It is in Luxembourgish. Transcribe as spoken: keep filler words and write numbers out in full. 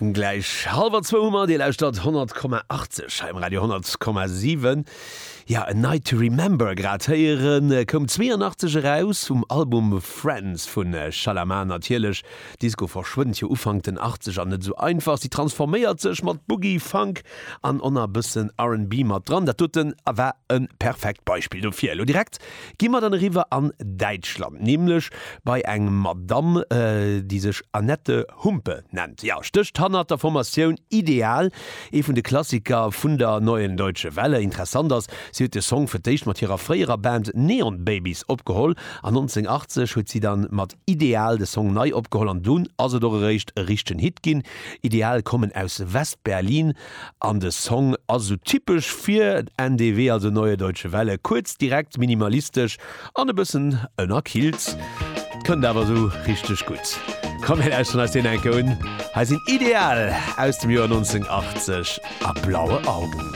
Gläich hallwer zwou hu mer, Dir lauschtert honnert Komma achtzeg hei um Radio honnert Komma siwen. Ja, A Night to Remember grad héieren, koum zweeanachtzeg eraus um Album Friends vu Shalamar natierlech. Disco verschwënnt jo Ufank den Achtzeger net esou einfach, si transforméiert sech mat Boogie, Funk an och nach e bëssen R and B mat dran. Dat doten war e perfekt Beispill dofir. Elo direkt gi mer dann eriwwer an Däitschland, nämlech bei eng Madamm, déi sech Annette Humpe nennt. Jo, stécht hannert der Formatioun Ideal, ee vun de Klassiker vun der Neuen Deutsche Welle. Interessant ass, si huet de Song fir d'éischt mat hirer fréierer Band Neon Babies opgeholl an nonzénhunnertachtzeg huet si dann mat Ideal de Song nei opgeholl an dunn ass et och eréischt e richtegen Hit ginn. Ideal kommen aus West-Berlin an de Song ass esou typesch fir N D W, also Neue Deutsche Welle, kuerz, direkt, minimalistesch an e bëssen ënnerkillt. Kënnt awer esou richteg gutt. Komm mir lauschteren eis deen eng Kéier un. Hei sinn Ideal aus dem Joer nonzénhunnertachtzeg a Blaue Augen.